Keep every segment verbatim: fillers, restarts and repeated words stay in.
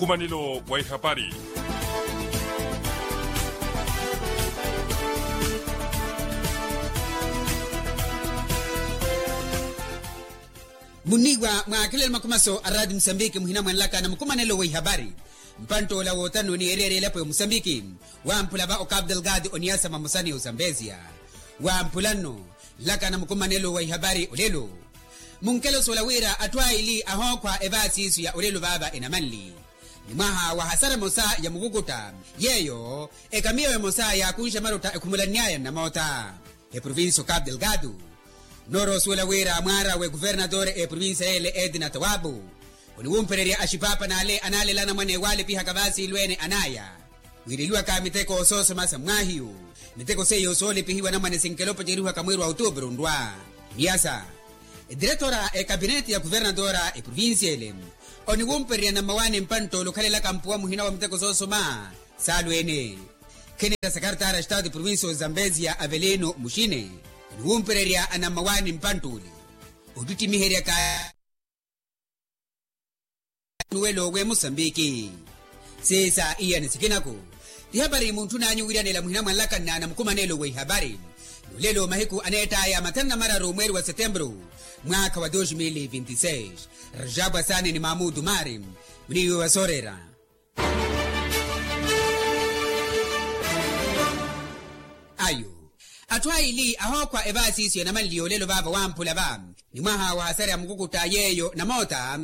Mukumanelo wa ihapari. Munniiwa mwaakhelele makumaso a raati musambiki muhina mwanlaka na mukumanelo wa ihapari. Mpantt'ola wootanu ni ereera elapo ya musambiki wamphula va okapu delgado oniyasa mamosa ni osambezia. Wamphula nno nlaka na mukumanelo wa ihapari olelo. Munkelo soola wira atthu aili ahookhwa evaasi isu ya olelo vaava enamanli ni mwaha wa hasara emosa ya mukukutta yeeyo ekamiyo emosa yaakunxe marotta ekhumulann'aya nnamoota. Eprovincia okapu delgado noorowa osuwela wira mwaarawe kuvernatore eprovincia yeele edna tawabu oniwumpererya axipaapa n'ale anaalela anamwane waalipihaka vaasiilweene an'aya wiireliwaka miteko soosoma sa mmwaahiyu. Miteko seiyo soolipihiwa anamwane sinkela opaceriwaka mweeri wa otuupuru nrwa niyasa. Ediretora ekapineti ya kuvernadora eprovincia ele oniwumpererya nammawaani mpantt'ole okhalelaka mpuwa muhina wa miteko soosoma saalweene. Khenera sakartara a estado eprovincia ozambezia avelino muxine oniwumpererya anammawaani mpantt'ole ottittimiheryaka nuwelo we musambiki. Siisa iyani sikinaku tihapari muntthun'anyu wiiranela muhina mwanlakanna na mukumanelo wa ihapari. Nulelo mahiku aneett'aya mathanu na mararu mweeri wa setemburu mwaakha wa dos mil vinti seis. Rajabu asaani ni mamudu mari muniiwe wasoorera. Ayo atthu aili ahookhwa evaasi isu ya namanli yoolelo vaava wamphula va ni mwaha wa hasara ya mukukutta yeeyo namoota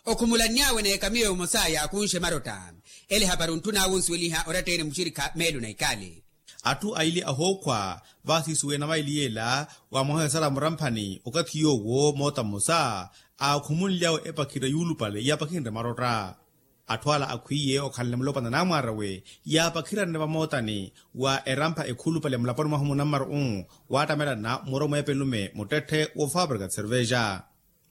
okhumulanny'awe n'ekamiyo emosa yaakunxe marotta. Ele hapari ontthun'awe onsuweliha oratta-ene muxirikha meelo na ikali. Atthu aili ahookhwa vaasi isu we namaili yeela wa mwaha wa hasara muramphani okathi yoowo moota mmosa aakhumunly'awe epakhira yuulupale yaapakhinre marotta. Atthu ala akhwiiye okhalane mulopwana n'amwaarawe yaapakhiranne vamootani wa erampha ekhulupale mulaponi mwahu munammaro-u waattamelana muro mweepelume muttetthe wofaaparika tiservexa.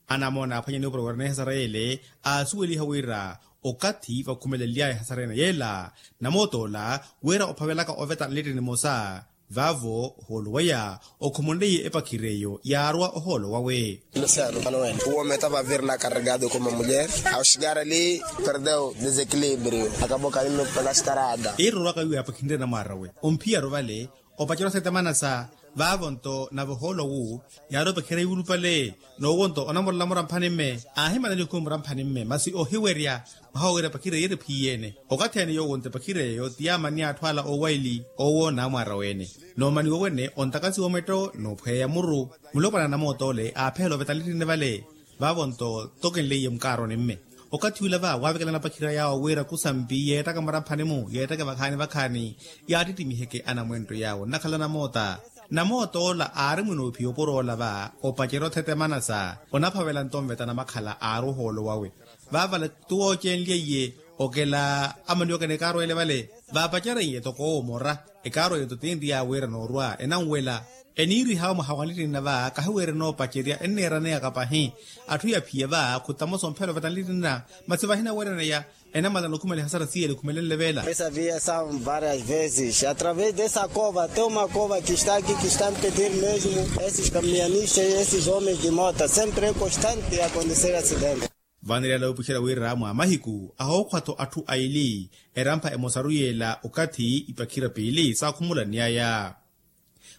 Anamoona aaphwanyani opuro wira n'ehasara yeele aasuweliha wira okathi vakhumelely'aya ehasara ene yeela namoot'ola wira ophavelaka oveta nlittini mmosa vaavo ohoolo waya okhumunleiye epakhira eyo yaarwa ohoolo wawe. Luciano manuel uwo meta vavirna carregado como mulher ao chegar ali perdeu desequilibrio akaboka mimi pela starada. Iirorwaka wiiwa yaapakhinre namwaarawe omphiyaru vale opacerya osetemanasa vaavo nto nave ohoolo wu yaari opacerya yuulupale n'uwo nto onamorola muramphani mme aahimanani okhumi muramphani mme masi ohiwerya mwaha wowira epakhira yeeri phiyene. Okathi ene yoowo nto epakhira eyo ti yaamani atthu ala oowaili owo n'amwaara wene n'omaniwa wene ontakasiwa ometto n'ophweya muru mulopwana na namoot'ole aaphehela ovetalittini vale vaavo nto tokenleiye mukaaroni mme. Okathi ula va waavekelana apakhira yaawo wira kusampi yeettaka muramphani-mu yeettaka vakhaani vakhaani yaattittimihe anamwentto yaawo nnakhala namoota. Namoot'ola aari mwinoophiya opuro ola va opacerya othete manasa onaphavela nto onveta namakhala aari ohoolo wawe. Vaavale tuwoocenlyeiye okela amaniwaka n'ekaarwa ele vale vaapacerye toko owo mora ekaarwa eyo totinri yaawiira noorwa enanwela eniirihawe mwaha wa nlittinna va kahiweerya enoopacerya enneeraneyaka pahi. Atthu yaphiya va khutamosa omphela oveta nlittinna masi vahinaweeraneya enamala nokhumela ehasara siiyela ekhumelenle veela. Essa via são várias vezes através dessa cova tem uma cova que está aqui que está a impedir mesmo esses caminhonistas esses homens de mota sempre é constante acontecer acidente. Vaneryala wuupuxela wira mwa mahiku ahookhwa-tho atthu aili erampha emosaru yeela okathi ipakhira piili saakhumulann'aya.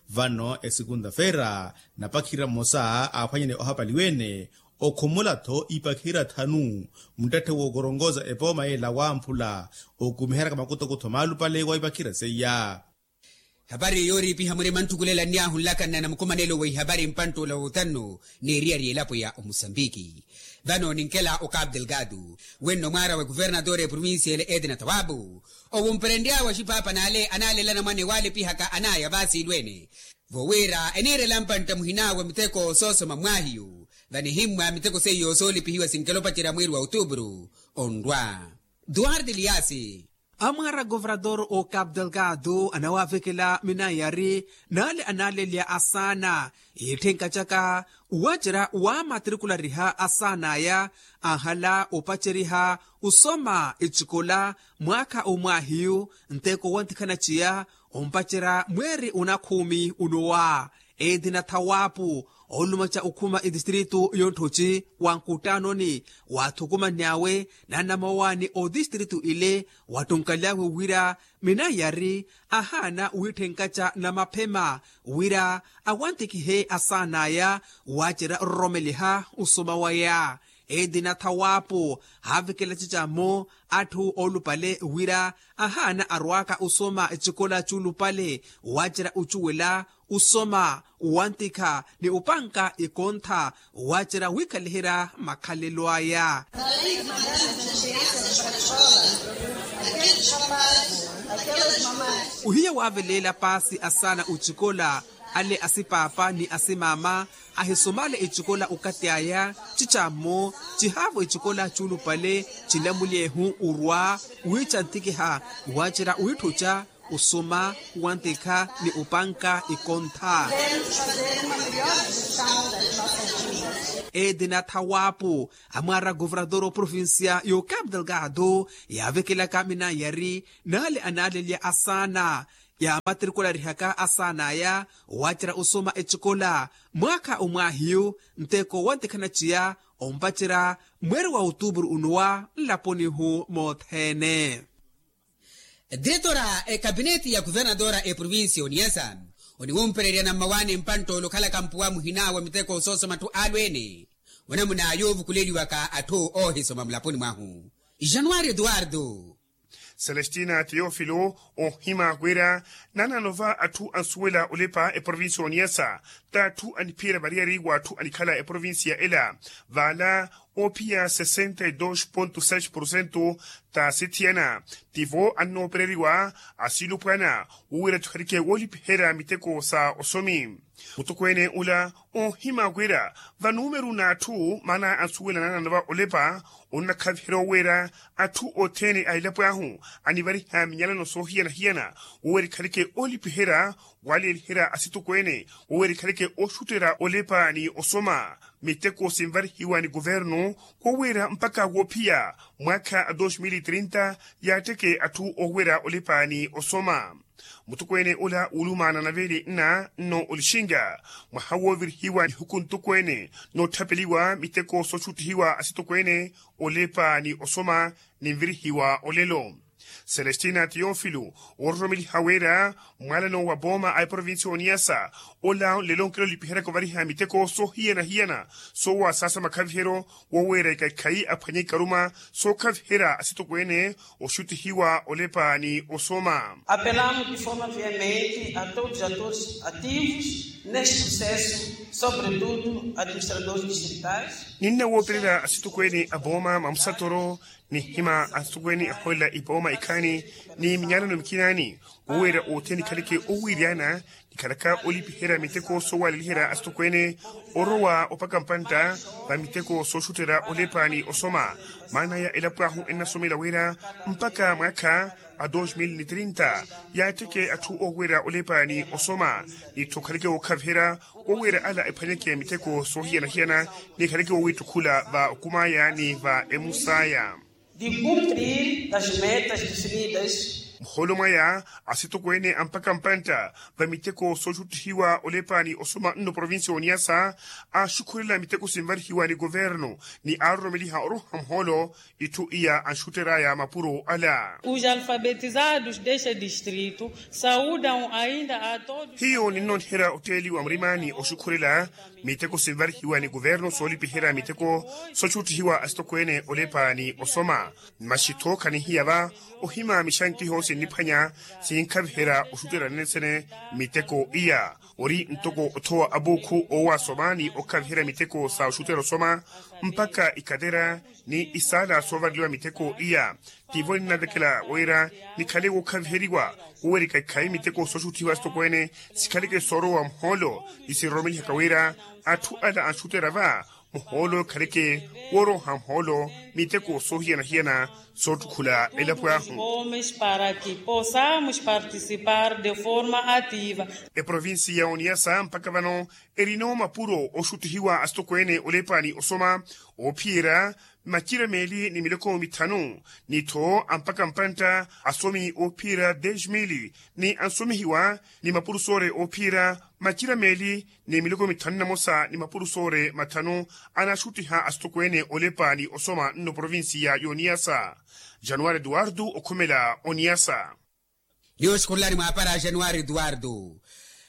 Vano esikunta-feera napakhira mmosa aaphwanyane ohapaliwa-ene okhumula-tho ipakhira thanu muttetthe wookoronkoza epooma yeela wamphula okumiheryaka makutuku-tho maalupale wa ipakhira seiya. Hapari yooriipiha murima nttukulela nniyaahu nlakanna na mukumanelo wa ihapari mpantt'ola woothannu n'eriyari elapo ya omusambiki. Vano ninkela okapu delgado wenno mwaarawe kuvernatore eprovincia ele edna tawabu owumperenry'awe axipaapa n'ale anaalela anamwane waalipihaka an'aya vaasiilweene vowiira eniirela mpantta muhin'awe miteko soosoma mmwaahiyu vanihimmwa miteko seiyo soolipihiwa sinkela opacerya mweeri wa otuupuru onrwa. Duarte eliasi. Amwaara governador okapu delgado anawaavekela minayari n'ale anaalelya asaana itthenka caka wacerya waamatrikulariha asaan'aya anhala opaceriha osoma ecikola mwaakha omwaahiyu nteko wantikhana ciya ompacerya mweeri onakhumi onowa. Edina thawapu Oolumaca okhuma etistritu y'otthoci wa nkuttaanoni waathukumanny'awe na namawaani otistritu ile wattunkaly'awe wira minayari ahaana wiitthenkaca namaphema wira awantikihe asaan'aya waacerya ororomeliha osoma waya. Etina thawaapu haavekela cicammo atthu oolupale wira ahaana arwaaka osoma ecikola c'ulupale waacerya ocuwela osoma owantikha ni opanka ekontha waacerya wiikhaliherya makhalelo aya. Ohiya waaveleela paasi asaana ocikola ale asipaapa ni asimaama ahisomale ecikola okathi aya cicammo cihaavo ecikola c'ulupale cinamulyehu orwa wiicantikiha waacerya wiitthuca osoma wantikha ni opanka ekontha. Etina thawaapu amwaara governador oprovincia y'ocapital gado yaavekelaka minayari n'ale anaalelya asaana yaamatrikularihaka asaan'aya waacerya osoma ecikola mwaakha omwaahiyu nteko wantikhana ciya ompacerya mweeri wa otupuru onuwa nlaponihu mothene. Diretora ekapineti ya kuvernadora eprovincia oniyasa oniwumpererya nammawaani mpantt'ole okhalaka mpuwa muhina wa miteko soosoma atthu alweene. Onamuna yoovukuleliwaka atthu oohisoma mulaponi mwahu januari eduardo. Celestina teofilo ohima wira nanano va atthu ansuwela olepa eprovincia oniyasa t'atthu aniphiyerya variyari w'atthu anikhala eprovincia ela vaala oophiya sesenta e dos ponto seis porcento t'asithiyana tivo annoopereriwa asilupwana wowira atthu khalike woolipiherya miteko sa osomi. Mutokweene ula oohima wira vanumeru n'atthu maana ansuwela nanano va olepa onnakhaviherya oweera atthu othene a elapo ahu anivariha minyalano soohiyana-hiyana woweera ekhaleke oolipiherya waleeliherya asitokweene woweera ekhaleke oxutterya olepa ni osoma. Miteko sinvarihiwa ni kuvernu woweera mpakha woophiya mwaakha a dos mil e trinta yaatteke atthu oweera olepa ni osoma. Mutokweene ola wulumaana na veeli nna nno olixinga mwaha woovirihiwa nihuku ntokweene nootthapeliwa miteko sooxuttihiwa asitokweene olepa ni osoma ninvirihiwa olelo. Celestina teofilo woororomeliha wira mwaalano wa pooma a eprovincia oniyasa ola nlelo onkela olipiheryaka ovariha miteko soohiyana-hiyana soowasaasa makhaviheryo woweera ikaikhayi aphwanye ikaruma sookhaviherya asitokweene oxuttihiwa olepa ni osoma. Apelamo de forma veemente a todos os atores ativos neste processo sobretudo administradores distritais. Ninna woopererya asitokweene a pooma mamusatoro nihima asitokweene ahoolela ipooma ikhaani ni minyalano mikinaani woweera othene nikhaleke owiiryana nikhalaka olipiherya miteko soowaleliherya asitokweene orowa opaka mpantta va miteko sooxutterya olepa ni osoma. Maana ya elapo ahu ennasomela wira mpakha mwaakha a dos mil ni trinta yaatteke atthu oweera olepa ni osoma nitthu okhaleke wookhaviherya woweera ala ephwanyeke miteko soohiyana-hiyana nikhaleke wowiittukhula va okum'aya ni va emus'aya. De cumprir as metas definidas. Muhoolo mwaya asitokweene a mpakha mpantta va miteko sooxuttihiwa olepa ni osoma nno provincia oniyasa aaxukhurela miteko sinvarihiwa ni kuvernu ni aaroromeliha oroha muhoolo itthu iya anxuttery'aya mapuro ala. Os alfabetizados deste distrito saudam ainda a todos. Hiyo ninnooniherya otteeliwa murimani oxukhurela miteko sinvarihiwa ni kuvernu soolipiherya miteko sooxuttihiwa asitokweene olepa ni osoma. Masi-tho khanihiya va ohima mixankiho sinniphwanya sinkhaviherya oxutterya nene-sene miteko iya ori ntoko othowa apuukhu oowasoma ni okhaviherya miteko sa oxutterya osoma mpakha ikatera ni isaala soovareliwa miteko iya. Tivo ninnavekela wira nikhale wookhaviheriwa wowerika ikhayi miteko sooxuttihiwa asitokweene sikhaleke soorowa muhoolo ni sinroromelihaka wira atthu ala anxutterya va muhoolo ikhaleke wooroha muhoolo miteko soohiyana-hiyana soottukhula elapo ahu. Homens para que possamos participar de forma ativa. Eprovincia ya oniyasa mpakha vano erina omapuro oxuttihiwa asitokweene olepa ni osoma oophiyerya macira meeli ni miloko mithanu, ni tho ampaka mpantta asomi oophiyerya dez mili, ni ansomihiwa ni mapurusoore oophiyerya macira meeli ni miloko mithanu na mosa ni mapurusoore mathanu, anaxuttiha asitokweene olepa ni osoma nno provincia y'oniyasa. Januwari eduwardu okhumela oniyasa. Niyo oxukhurulani mwaapara januwari eduwardu.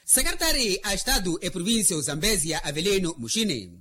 Sekeretari a estadu eprovincia ozambesia avelino muxini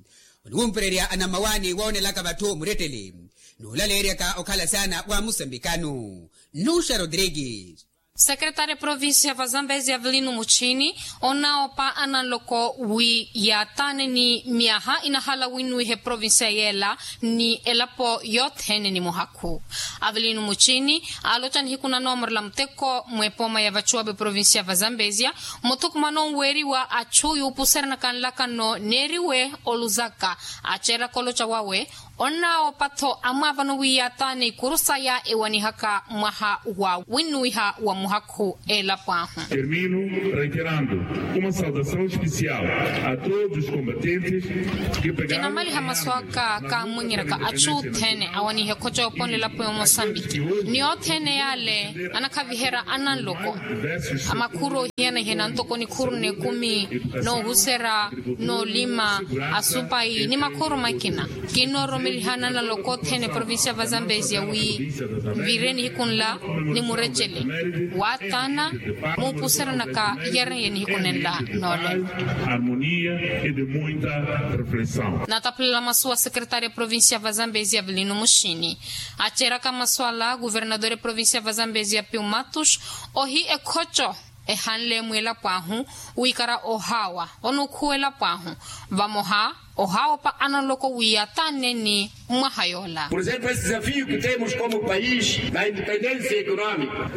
oniwumpererya anammawaani woonelaka vatthu muretteli, n'ulaleeryaka okhala saana wa musambikanu. Nuxa rodrigues. Sekeretari eprovincia va zambezia avelino muxini onaawopa ananloko wi yaataane ni myaha inahala winnuwiha eprovincia yeela ni elapo yothene ni muhakhu. Avelino muxini aaloca nihiku na noomorela muteko mwepooma ya vacuwapo eprovincia va zambezia, muthukumano nweeriwa achu yuupuseranaka nlakano neeriwe oluzaka. Aceeraka oloca wawe onnaawopatho amwaavano wi yaataane ikuru saya ewanihaka mwaha wa winnuwiha wa muhakhu elapo ahu. Termino reiterando uma saudação especial a todos os combatentes. Kinamaliha masu aka kaamwenyeraka achu othene awaniha ekhoca yooponela elapo ya omosambiki ni othene yaale anakhaviherya ananloko. Amakhuru oohiyana-hiyana ntoko nikhuru n'ekumi, noohuserya, noolima, asupayi ni makhuru makina. Kinnoororomeliha ananloko othene provincia va zambezia wi nviire nihiku nla ni murecele waataana muupuseranaka yarenye nihiku nenla noolelo. Harmonia e de muita reflexão. Nataphulela masu wa sekeretari eprovincia va zambezia avelino muxini. Aceeraka masu ala guvernador eprovincia va zambezia piu matus ohi ekhoco ehanle mwilapo ahu wiikara ohaawa onukhuwa elapo ahu vamoha ohaawopa analoko wi yaataanne ni mwaha yoola. Por exemplo esse desafio que temos como país da independência econômica.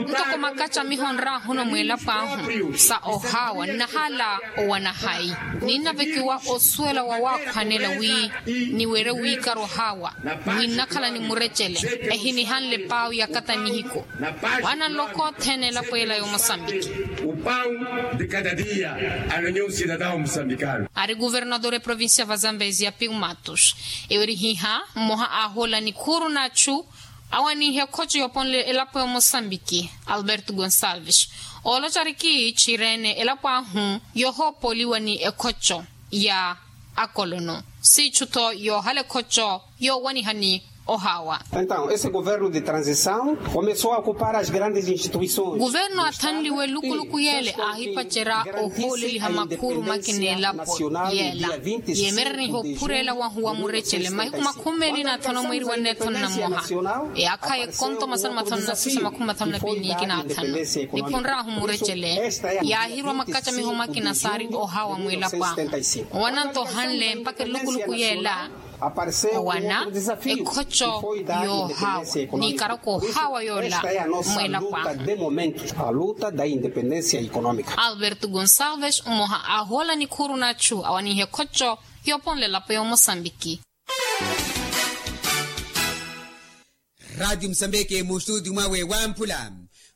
Ntoko makacamiho nraahuna mwilapo ahu sa ohaawa nnahala owana hayi ninnavekiwa osuwela wa waakhwanela wi niwere wiikara ohaawa wi nnakhala ni murecele ehinihanle paawi ya kata nihiku. Wana nloko othene elapo ela ya omosambiki. O pão de cada dia a nenhum cidadão moçambicano. Ari guvernador eprovincia va zambezia piu matus ewerihiha mmoha aahola nikhuru n'achu awaniha ekhoco yooponle elapo ya omosambiki alberto gonsalves ooloca ari kiichirene elapo ahu yohoopoliwa ni ekhoco ya akolono siichu-tho yoohala ekhoco yoowanihani ohaawa. Entaw esse governo de transição começou a ocupar as grandes instituições. Guverno athanliwe lukuluku yeele aahipacerya ohooleliha makhuru makina elapo yeela yeemerereniha ophureela wahu wa murecele mahiku makhumi meeli n'athanu mweeri wa nneethanu na mmoha eyaakha y'ekonto masanu mathanu na sisa makhumi mathanu na piili n'ikina athanu. Niphunryahu murecele yaahirwa makacamiho makina saari ohaawa mwilapo ahu owananto ohanle mpakha elukuluku yeela owana ekhoco yoohaawa n'ikaraka ohaawa yoola mwilapo ahu. Alberto gonsalves mmoha aahoola nikhuru n'achu awaniha ekhoco yooponla elapo ya omosambiki. Ratio musambiki mustudio mwawe wamphula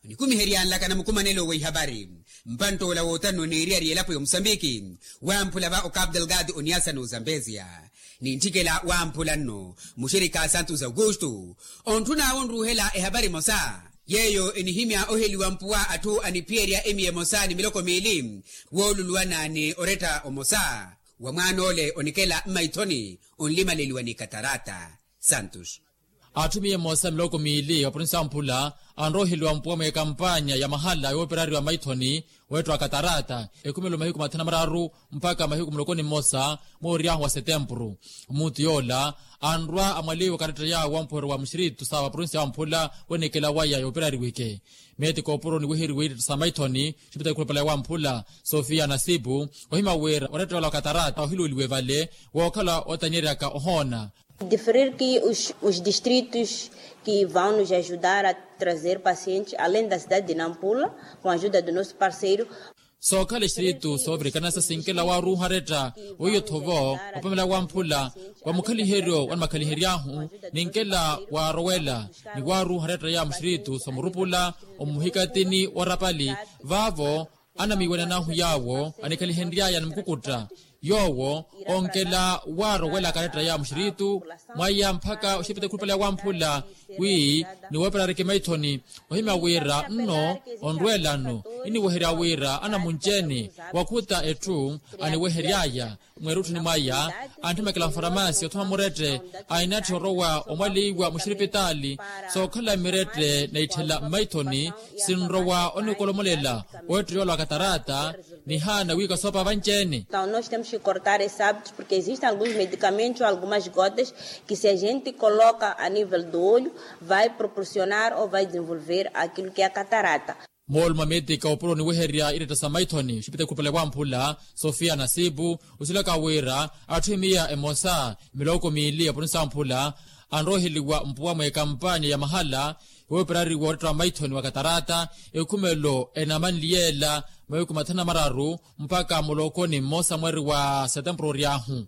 onikumiherya nlaka na mukumanelo wa ihabari. Mpantt'ola wootanno niiriyari elapo ya omosambiki wamphula va okapu delgado oniasa n'ozambezia. Nintthikela wamphula nno muxirikha santos augusto ontthun'awe onruuhela ehabari emosa yeeyo enihimya oheliwa mpuwa atthu aniphiyerya emiya emosa ni miloko miili wooluluwana ni oretta omosa wa mwaan'ole onikela mmaithoni onlimaleliwa ni katarata. Santos. Atthu miya emosa miloko miili wa provinsi ya mphula anrowa oheliwa mpuwa mweekampanya ya mahala yooperariwa maithoni weettiwa katarata ekhumelo mahiku mathanu na mararu mpakha mahiku muloko ni mmosa mooryahu wa setempuru. Muttu yoola anrwa amwaliwa karetta yaawo wa mpuhero wa muxiritu sa wa provinsi ya mphula wenikela waya yooperariwike meeti koopuro niweheriwe ittetta sa maithoni. Xipitali khulupale wa mphula sofia nasipu ohima wira oretta yoola wa katarata ohiluweliwe vale wookhala otanyeryaka ohoona. Diferir ki os distritos ki vão nos ajudar a trazer pacientes além da cidade de nampula com ajuda do nosso parceiro. Sookhala extritu soovirikana sa sinkela waaruuha retta weiyo thovo opamela wamphula wa mukhaliheryo wa nimakhalihery'ahu ninkela waarowela ni waaruuha retta ya muxtritu soomurupula omuhikatini wa rapali vaavo anamiiwanan'ahu yaawo anikhalihenry'aya ni mukukutta. Yoowo onkela waarowela karetta ya muxiritu mwaya mpakha oxipita ekhulupale ya wamphula wi niwooperariki maithoni ohimya wira nno onrwelano iniweherya wira anamunci-ene wakhuta etthu aniweheryaya mweerutthuni mwaya antthimekela mfaramaasi othoma murette ainatthi orowa omwaliwa muxiripitaali sookhala mirette naitthela mmaithoni sinrowa onikolomolela owetteliwa lwa katarata nihaana wiika soopa vanci-ene. Então nós temos que cortar esses hábitos porque existem alguns medicamentos ou algumas gotas que se a gente coloca a nível do olho vai proporcionar ou vai desenvolver aquilo que é a catarata. Moolumo a meetika opuro oniweherya iretta sa maithoni oxipita ekhulupale wamphula sofia nasipu osilaka wira atthu emiya emosa miloko miili ya provinsi ya mphula anroheliwa mpuwa mweekampanya ya mahala wooperariwa oretta wa maithoni wa katarata ekhumelo enamanliyeela mawiku mathanu na mararu mpakha mulookoni mmosa mweeri wa setempuru ory'ahu.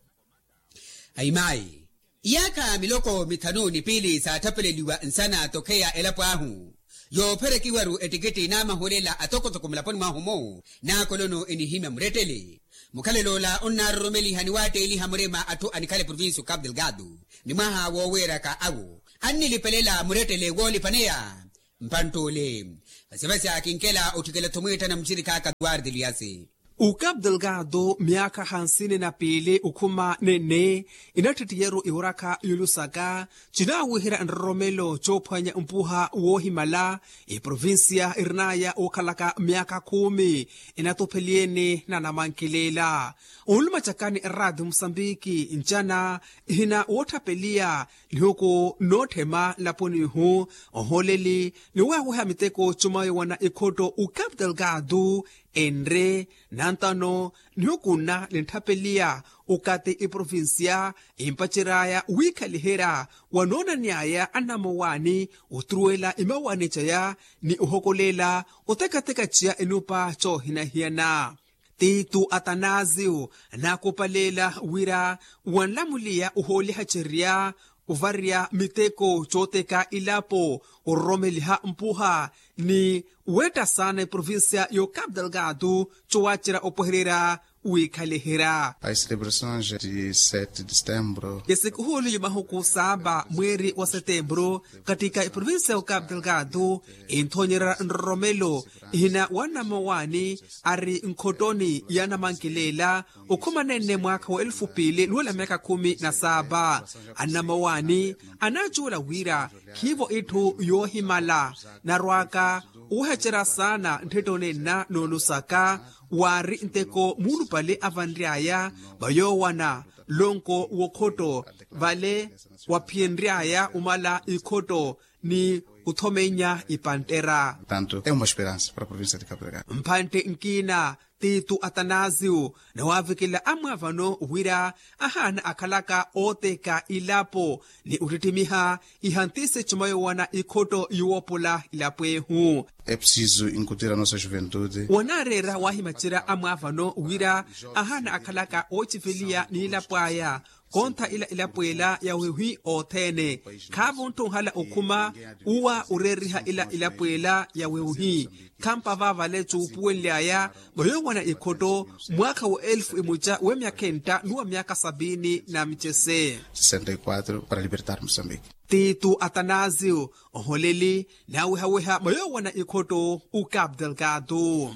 Ahimayi iyaakha miloko mithanu ni piili saattapeleliwa nsana tokheya elapo ahu yoopherekiwaru ettikitti naamahulela atokotoko mulaponi mwahu-mu naakolono enihimya murettele mukhalelo ola onnaaroromeliha ni waatteeliha murima atthu anikhala eprovincia okapu delgado ni mwaha wooweeraka awo annilipelela murettele woolipaneya mpantt'ule vasivasi akinkela otthikela-tho mwiittana muxirikhaaka duwarde liyasi. Okapu delgado myaakha hansini na piili okhuma nenne inattittiyeryo iworakha yolusaka cinaawiherya nroromelo coophwanya mpuha woohimala eprovincia irinaya ookhalaka myaakha khumi inatupheliye-ene na namankileela onluma cakani eraati musambiki ncana ihina woottapeliya nihuku nootthema nlaponi-hu ohooleli ni waaweha miteko cuma yowana ikhotto okapu delgado enre nantano nihuku nna nintthapeliya okathi eprovincia empacery'aya wiikhaliherya wanoonan'aya annamowaani oturuwela imawaani caya ni ohokolela otekateka ciya enupa coohinahiyana. Titu atanasio naakupaleela wira wanlamuliya ohoolihacerya ovarya miteko cooteka ilapo ororomeliha mpuha ni wetta saana eprovincia y'ocapu delgado cowaacerya opwehererya wiikhaliherya. As celebrações de sete de setembro. Esikuhuli ya mahuku saaba mweeri wa setembro katika eprovincia y'ocapu delgado enthonyerya nroromelo ihina wa namawaani ari nkhottoni ya namankileela okhuma nenne mwaakha wa elufu piili nuwela myaakha khumi na saaba annamawaani anaacuwela wira khiivo itthu yoohimala narwaaka owehecerya saana ntthitto nenna noolusaka waari nteko muulupale avanry'aya vayoowana lonko w'okhotto vale waphiyenry'aya omala ikhotto ni othomenya ipanttera. Tanto é uma esperança para a província de cabo delgado. Mphantte nkiina titu atanasio nawaavikela amwaavano wira ahaana akhalaka ooteka ilapo ni ottittimiha ihantisi cuma yoowana ikhotto yuwoopola ilapo ehu. É preciso incutir a nossa juventude. Wanaareera waahimacerya amwaavano wira ahaana akhalaka oociveliya n'ilapo aya kontha ila ilapo ela ya wehuhi othene khaavo ntthu onhala okhuma uwa oreeriha ila ilapo ela ya wehuhi khampa vaavale cuupuwenly'aya vayoowana ikhotto mwaakha wa elfu imuca w'emyakha entta ni wa myakha sapiini na micese. Sessenta e quatro para libertar moçambique. Titu atanasio oholeli naawehaweha vayoowana ikhotto ucapu delgado.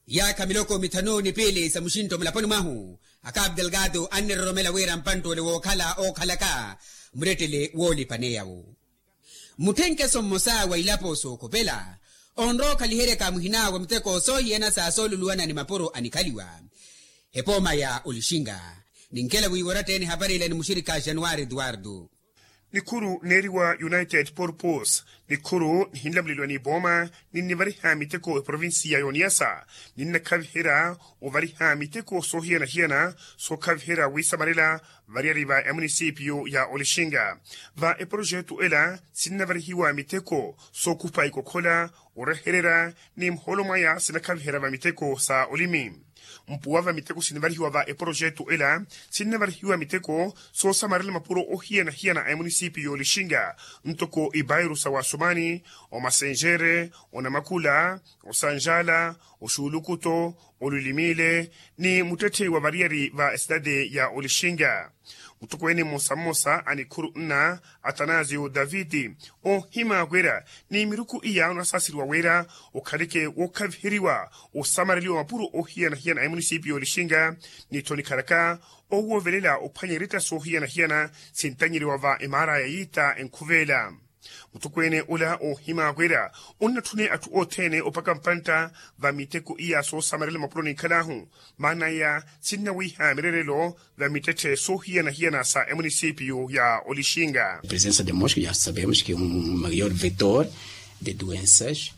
Iyaakha miloko mithanu ni piili sa muxinto mulaponi mwahu a capu delgado anniroromela wira mpantt'ule wookhala ookhalaka murettele woolipaneya-wo. Mutthenkeso mmosa wa ilapo sookhopela onrowa okhaliheryaka muhina wa miteko soohiyana sa sooluluwana ni mapuro anikhaliwa epooma ya olixinga. Ninkela wiiworatta-ene hapari ila ni muxirikha januwari eduwardo. Nikhuru neeriwa united purpose nikhuru nihinlamuleliwa n'ipooma ninnivariha miteko eprovincia y'oniyasa ninnakhaviherya ovariha miteko soohiyana-hiyana sookhaviherya wiisamarela variyari va emunisipio ya olixinga. Va eprojetu ela sinnavarihiwa miteko sookhupa ikokhola orehererya ni muhoolo mwaya sinakhaviherya va miteko sa olimi. Mpuwa va miteko sinivarihiwa va eporojetu ela, sinivarihiwa miteko soosamarela mapuro ohiyana-hiyana a emunisipiyu y'olixinga, ntoko ipairu sa wasumani, omasenjere, onamakula, osanjala, oxulukuto, olulimile, ni muttetthe wa variyari va esidade ya olixinga. Mutokweene mmosa-mmosa a nikhuru nna, atanasio daviti, oohimaka wira ni miruku iya onasaaseriwa wira okhaleke wookhaviheriwa osamareliwa mapuro oohiyana-hiyana a emunisipiyu y'olixinga, ni tho nikhalaka owoovelela ophwanya iretta soohiyana-hiyana sintanyeriwa va emaara ya yiita enkhuveela. Mutokweene ola oohimaka wira onnatthune atthu othene opaka mpantta va miteko iya soosamarela mapuro ninkhalaahu, maana iya sinnawiiha mirerelo va mittetthe soohiyana-hiyana sa emunisipiyu ya olixinga. Presensa de mosco ya sabemos ke un mayor vetor de duensas.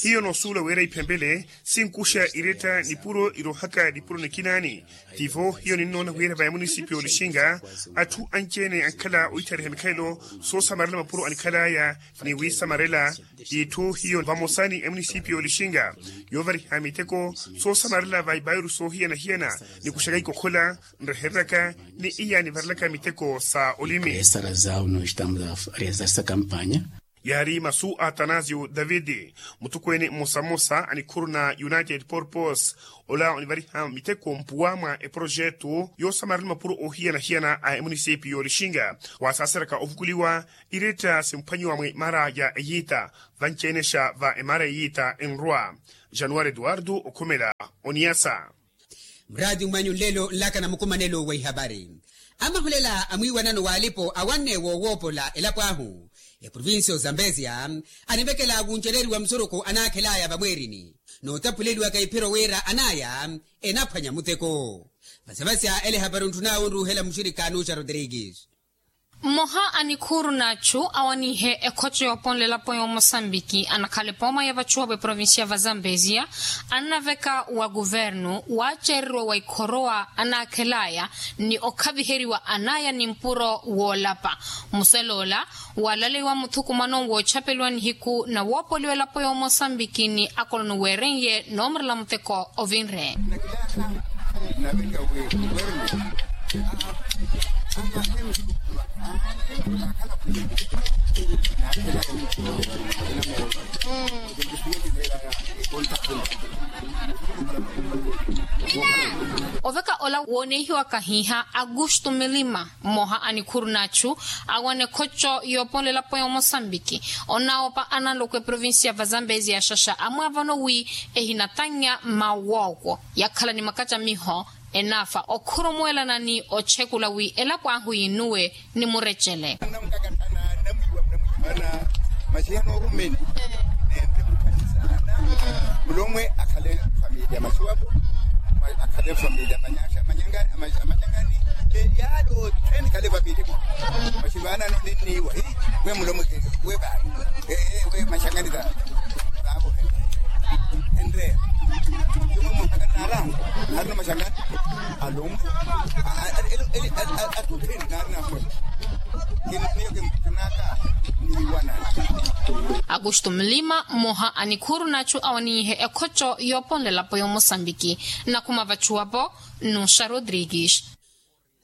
Hiyo noosuula wira iphempele sinkuxa iretta nipuro irohaka nipuro nikinaani. Tivo hiyo ninnoona wira va emunisipiyu y'olixinga atthu anci-ene ankhala oitthaariha mikhalelo soosamarela mapuro anikhalaya, ni wiisamarela t'itthu hiyo vamosa ni emunisipiyu y'olixinga yoovariha miteko soosamarela va ipairu soohiyana-hiyana, nikuxaka ikokhola nrehereraka ni iya nivarelaka miteko sa olimi. Esara zawu no estamos a realizar essa campaña. Yaari masu a atanasio daviti, mutokweene mmosa-mmosa a nikhuru na united purpose, ola onivariha miteko mpuwa mwa eporojetu yoosamarela mapuro ohiyana-hiyana a emunisipiyu y'olixinga, waasaaseraka ovukuliwa iretta simphwanyiwa mwa emaara ya eyiita vanci-enexa va emaara ya eyiita enrwa. Januwari eduwardo okhumela oniyasa. Muraati mwanyu nlelo nlaka na mukumanelo wa ihapari. Amahulela a mwiiwanano w'alipo awanne woowoopola elapo ahu, eprovincia ozambezia anivekela wunceleriwa musurukhu anaakhelaya vamweerini, nootapuleliwaka iphiro wira anaya enaphwanya muteko. Vasavasya ele ehapari ontthun'awe onruuhela muxirikha nuxa rodrigues. Mmoha a nikhuuru n'achu awaniihe ekhocho yooponlela-po y'omosambiki anakhala epooma ya vachuwa v'eprovincia va zambezia, annaveka wa kuvernu waacereriwa wa ikhorowa anaakhel'aya ni okhaviheriwa an'aya ni mpuro woolapa. Musal'ola waalaleiwa muthukumano woochapeliwa nihiku na woopoliwa elapo y'omosambiki ni akolono weeren'ye noomurela muteko ovinre. Oveka ola woonehiwaka hiiha augusto milima, mmoha a nikhuuru n'achu awana ekhocho yooponlela-po y'omosambiki, onaawopa analoko eprovincia va zambezia xaxa amwaavano wi ehinatannya mawooko yakhala ni makacamiho enaafa okhurumuwelana ni ochekula wi elapo ahu yinuwe ni murecele. Masi yanoorumeni nende mukanisaana mulomwe akhale familia masiwapo, akhale familia manyaxa manyangani, yaalo theni khale familia masivaanano ninniiwa hi we mulomwe we baali. Ee we maxangani ta taavo enreya naarina maxangani alomwe atutheni naarina mwe. Augusto mlima mmoha a nikhuuru n'achu awaniihe ekhocho yooponlela-po y'omosambiki. Nakhuma vachuwa-po nuxa rodrigues.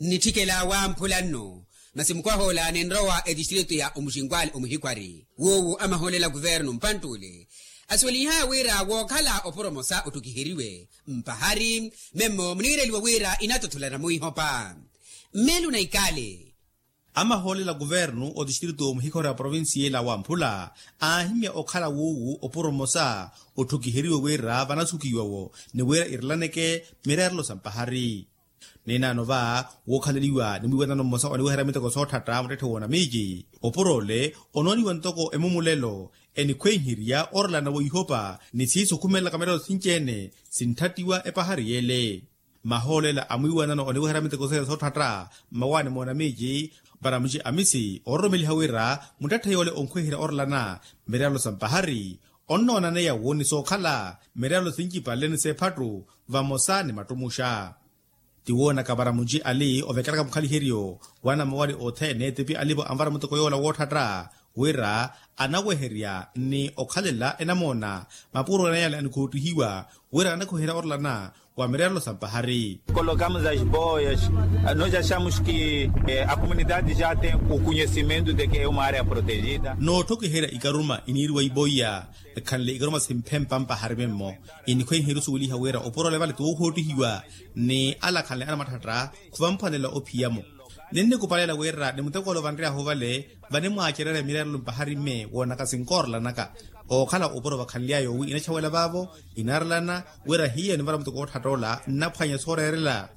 Nnitthikela wamphula nnu masi mukwah'ola ninrowa etistritu ya omuxinkwali omuhikwari wuuwu amahoolela kuvernu mpantt'ule asuweliha wira wookhala oporomosa otthukiheriwe mpahari memmo muniireliwa wira inatotholana mwiihopa. Mmelu na ikale. Amahoolela kuvernu otistritu omuhikhori a provincia ela wamphula aahimya okhala wuuwu oporomosa otthukiheriwe wira vanasukiwa-wo ni wira irelaneke mireerelo sa mpahari. Ninaano va wookhaleliwa ni mwiiwanano mmosa oniweherya miteko sootthatta muttetthe w'onamiici opuro ole onooniwa ntoko emumulelo enikhweiherya orelana weihopa ni siiso okhumelelaka mireerelo sinci-ene sinthattiwa epahari yeele. Mahoolela a mwiiwanano oniweherya miteko seele sootthatta mmawaani moonamiici varamuci amisi oororomeliha wira muttetthe yoole onkhweiherya orelana mireerelo sa mpahari onnoonaneya wo ni sookhala mireerelo sincipale ni seephattu vamosa ni mattumuxa. Tiwoonaka varamuci ali ovekelaka mukhaliheryo wanamawali othene tipi alivo anvara muteko yoola wootthatta wira anaweherya ni okhalela enamoona mapuro nayale anikhoottihiwa wira anakhuherya orelana wa mireerelo sa mpahari. Kolokamos as boias. Nos achamos ki a komunidade ja tem o konhesimento de ki e uma area protegida. Nootthokiherya ikaruma iniiriwa iboiya ekhanle ikaruma simphempa mpahari memmo. Inikhweihe erusuweliha wira oporola evale ti woohoottihiwa ni alakhanle anamathatta khuvamphwanela ophiya-mo. Ninnikupalela wira ni muteko ole ovanry'ahu ovale vanimwaacererya mireerelo mpahari mme woonaka sinkoorolanaka. Ookhala opuro vakhanly'aya owi inachawela vaavo inaarelana wira hiyo nivara muteko ootthatola nnaphwanya sooreerela.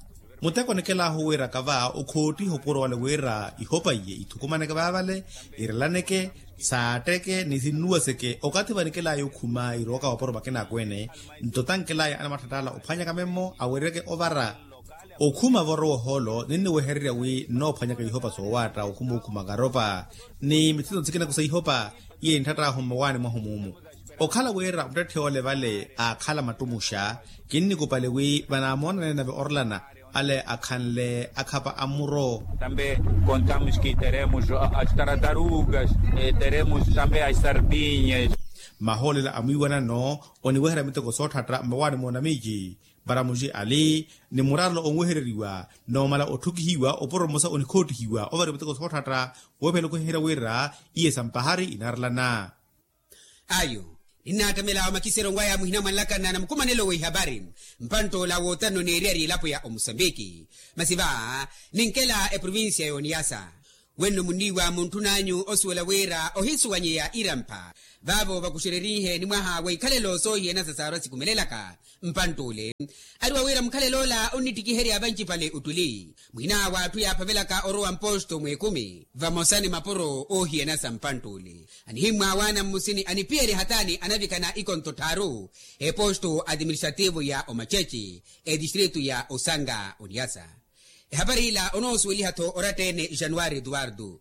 Muteko nikel'ahu wira kava okhoottiha opuro wale wira ihopa iye ithukumaneke vaavale irelaneke saatteke ni sinnuwaseke okathi vanikel'aya okhuma irooka wapuro vakinaakweene. Nto tankel'aya anamathatt'ala ophwanyaka memmo awereke ovara okhuma voorowa ohoolo ninniwehererya wi nnoophwanyaka ihopa soowaatta okhuma okhuma karopa ni mithito nsikinaku sa ihopa. Iye ntthatth'ahu mmawaani mwahu muumu okhala wira muttetthe ole vale aakhala mattumuxa. Kinnikupale wi vanaamoonanene nave orlana ale akhanle akhapa a mmuro. Tambe kontamos ki teremos as taratarugas teremos tambe as sardinyas. Mahoolela a mwiiwanano oniweherya miteko sootthatta mmawaani moonamiiji. Paramuxi ali ni muraarelo onwehereriwa noomala otthukihiwa opuro mmosa onikhoottihiwa ovariwa miteko sootthatta. Weephela okweheherya wira iye sa mpahari inaarelana. Ayo ninnaattamela omakiseronwaya muhina mwanlakana na mukumanelo w'ihapari mpantt'ola wootanno n'eriyari elapo ya omusambiki. Masi va ninkela eprovincia y'oniyasa wenno munniiwa muntthun'anyu osuwela wira ohisuwanyeya irampha. Vaavo vakuxererihe ni mwaha wa ikhalelo soohiyanasa saarwa sikumelelaka mpantt'ule ariwa wira mukhalel'ola onnittikiherya vancipale ottuli. Mwin'awe atthu yaaphavelaka orowa mposto mw'ekumi vamosa ni mapuro oohiyana sa mpantt'ule. Anihimmwaawaana mmusini anipiyerya hataani anavikana ikonto tthaaru eposto administrativo ya omacece etistritu ya osanga oniasa. Ehapari ila onoosuweliha-tho oratta-ene januwari eduwardo.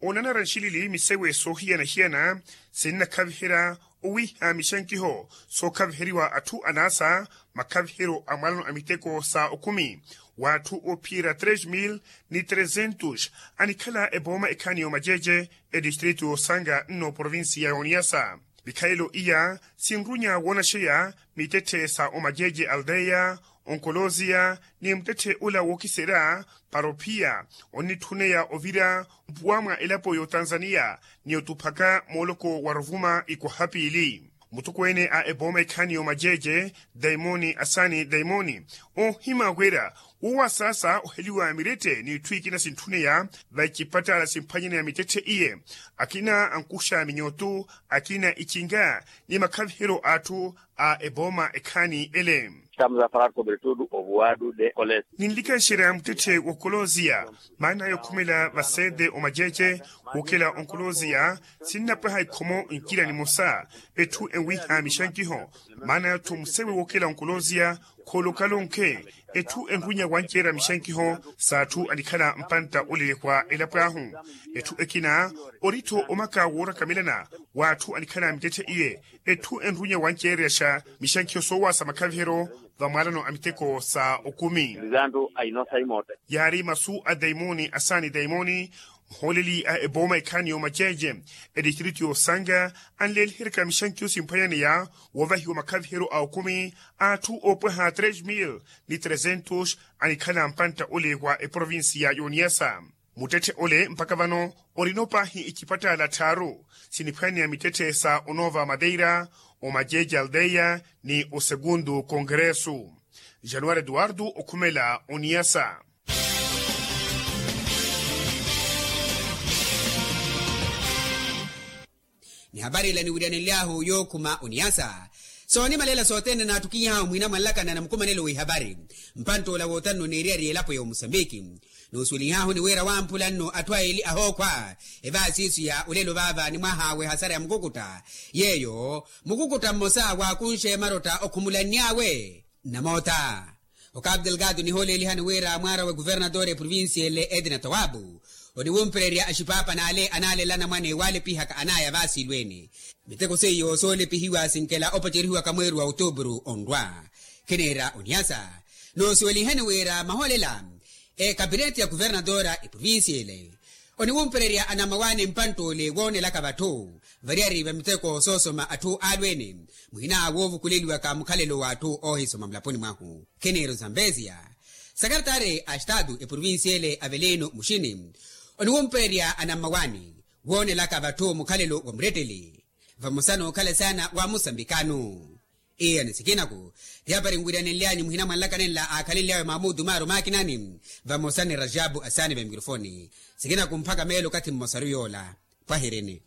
Onanara nxilili misewe soohiyana-hiyana sinnakhaviherya owiiha mixankiho sookhaviheriwa atthu anaasa makhaviheryo a mwalano a miteko sa okhumi w'atthu oophiyerya tres mil ni tresentos anikhala epooma ekhaani y'omaceece etistritu y'osanga nno provincia y'oniyasa. Vikhalelo iya sinrunya woonaxeya mittetthe sa omaceece aldeya onkolosia ni muttetthe ula wookiserya para ophiya onnitthuneya ovira mpuwa mwa elapo y'otanzaniya ni otuphaka mooloko wa ruvuma ikwaha piili. Mutokweene a epooma ekhaani y'omaceece daimoni asani daimoni oohima wira wowasaasa oheliwa mirette n'itthu ikina sintthuneya va icipattala simphwanyaneya mittetthe iye akina ankuxa minyotu akina icinga ni makhaviheryo a atthu a epooma ekhaani ele. Estamos a falar sobre tudo ovuwadu de colesia. Ninlikanxerya muttetthe w'okolosia maana yokhumela vasede omaceece wookela onkolosia sinnapwaha ikhomo nkira nimosa etthu enwiha mixankiho maana yathu musewe wookela onkolosia khoolokalonkhe etthu enrunya wanceerya mixankiho s'atthu anikhala mpantta olelekwa elapo ahu. Etthu ekina ori-tho omaka woorakamelana w'atthu anikhala mittetthe iye etthu enrunya wanceeryaxa mixankiho soowaasa makhaviheryo va mwalano a miteko sa okumi. Yaari masu a daimoni asaani daimoni muhooleli a epooma ekhaani y'omaceece etistritu y'osanga anleeliheryaka mixankiho simphwanyaneya woovahiwa makhaviheryo a okumi a atthu oopwaha tres mil ni tresentos anikhala mpantta ole wa eprovincia y'oniyasa. Muttetthe ole mpakha vano orina opaahi icipattala tthaaru siniphwaneya mittetthe sa onova madeira omaceece aldeya ni osegundu kongresu. Januwari eduwardo okhumela oniyasa. Ni hapari ila niwiriyanenly'ahu yookhuma oniyasa soonimalela sothene naattukiny'ahu mwina mwanlakana na mukumanelo w'ihapari mpantt'ola wootanno n'eriyari y'elapo ya omusambiki. Noosuwelihahu ni wira wamphula nno atthu aili ahookhwa evaasiisu ya olelo vaava ni mwaha w'ehasara ya mukukutta yeeyo mukukutta mmosa waakunxe marotta okhumulanny'awe nnamoota. Okapu delgado nihoolelihani wira mwaara wa ekuvernatore eprovincia ele edna tawabu oniwumpererya axipaapa n'ale anaalela anamwane waalepihaka anaya vaasiilweene. Miteko seiyo soolepihiwa sinkela opacerihiwaka mweeri wa otuburu onrwa. Khineera oniyasa noosuweliheni wira mahoolela ekapineti ya kuvernatore eprovincia ele Oniwumpererya anammawaani mpantt'ule woonelaka vatthu variyari va miteko soosoma atthu aalweene, muhina woovukuleliwaka mukhalelo w'atthu oohisoma mulaponi mwahu. Kheneiru zambeziya, sakartaari a estaatu eprovincia ele avelino muxini oniwumpererya anammawaani woonelaka vatthu mukhalelo wa muretteli, vamosa n'okhala saana wa musambikano. Iyani sikinaku, ti apari nwiriyanenlyanyu muhina mwanlakanenla aakhalenlyawe mamudu maaro makinani, vamosa ni rajabu asaani va mikrofoni. Sikinaku mpakha meelo okathi mmosaru yoola. Pwahirini.